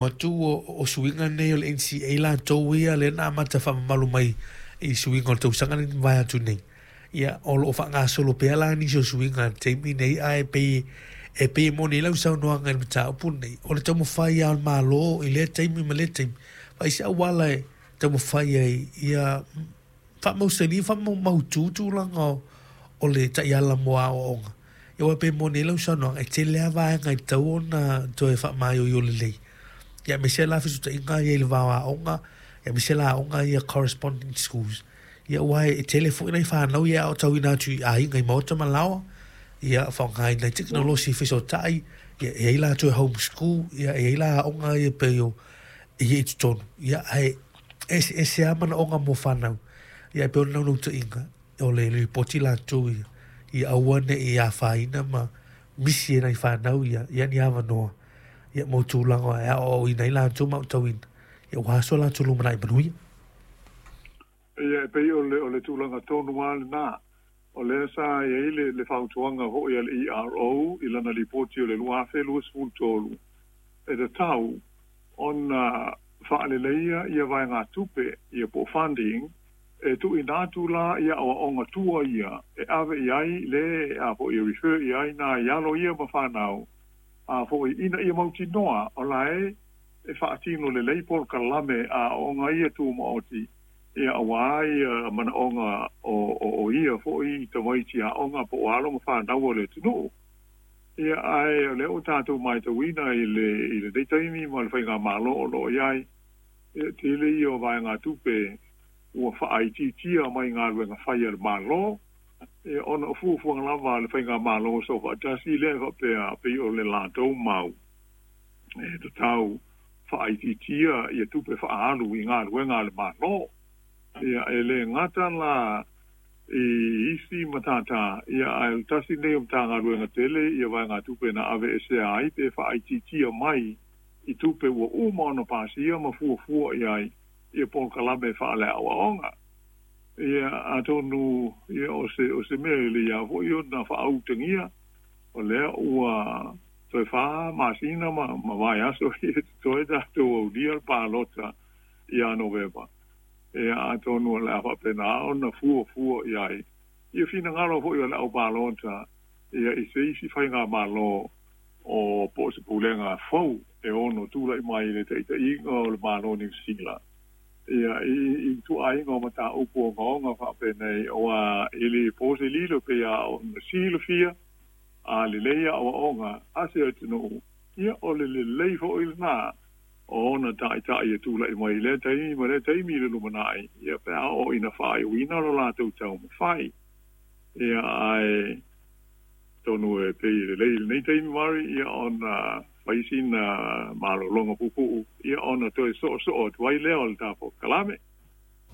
Atu o suiga nei o le NCA latou ia lea na amata faamamalu mai i suiga o le tausaga lenei na mavae atu nei. Ia, o lo o faagasolo pea la nisi o suiga i le taimi nei, ae pei e pei e moni ai lau saunoaga i le mataupu lenei, o le taumafai lava o le Malo i lea taimi ma lea taimi, fai se auala e taumafai ai ia faamausali ma faamautu tulaga o le taiala mo aoaoga. Ia aua e pei e moni ai lau saunoaga, e tele lava vaega e tatau ona toe faamaioio lelei. Ia aemaise la fesootaiga ia i le va o aoga, aemaise la aoga ia corresponding schools. Ia aua e tele foi nai fanau ia e aotauina atu i aiga i maota ma laoa, ia faaaogaina ai tekonolosi e fesootai, ia e i ai latou e home school, ia e i ai la aoga ia e pei o ia i totonu, ia ae eseese lava manaoga mo fanau. Ia e pei o le naunautaiga, o le lipoti latou ia, ia aua ne i afaina ma misi e nai fanau ia, ia ni avanoa ia mo tulaga e aoaoina ai latou ma aotauina, ia aua so latou lumanai manuia. Ia, e pei o le, o le tulaga tonu lava lena. O lea sa i ai le, le fautuaga foi a le ERO i lana lipoti o le 2023, e tatau ona faaleleia ia vaegatupe ia po o funding e tuuina atu la i aoaoga tua ia e ave i ai le a foi e refer i ai nai alo ia ma fanau a foi ina ia mautinoa o la e faatino lelei polokalame a aoga ia tumaoti ia aua ia manaoga o ia foi tamaiti aoga po o alo ma fanau o le atunuu. Ia, ae o lea ua tatou matauina i lenei taimi ma le faigamalo o lo o i ai, ia, tele ia o vaegatupe ua faaitiitia mai galuega fai a le Malo, ia, ona o fuafuaga lava a le faigamalo soofaatasi lea e faapea pei o le latou mau e tatau faaitiitia ia tupe faaalu i galuega a le Malo. Ia, e le gata la i isi matata, ia, ae o le tasi lenei o Matagaluega tele ia vaegatupe na aveesea ai pe faaitiitia mai i tupe ua uma ona pasia ma fuafua i ai ia polokalame faaleaoaoga. Ia, atonu ia o se mea e lelei lava foi ona faautagia, o lea ua toe 4 masina ma vaiaso ia totoe tatou aulia le palota ia Novema. Ia, atonu o le a faapena ona fuafua i ai ia finagalo foi o le au palota ia i se isi faigamalo o po o se pulega fou e ono tulai mai i le taitaiga o le Malo o Niu Sila ia i ituaiga o mataupu ogaoga faapenei, aua e le po se lilo pei lava ona silafia a lelei aoaoga a se atunuu, ia o le lelei foi lena o ona taitai e tulai mai i lea taimi ma lea taimi i le lumanai, ia pe a oo ina faaiuina lo latou taumafai. Ia, ae atonu e pei e lelei i lenei taimi, Mari, ia ona fai sina malologa puupuu, ia ona toe soosoo atu ai lea o le tatou kalame.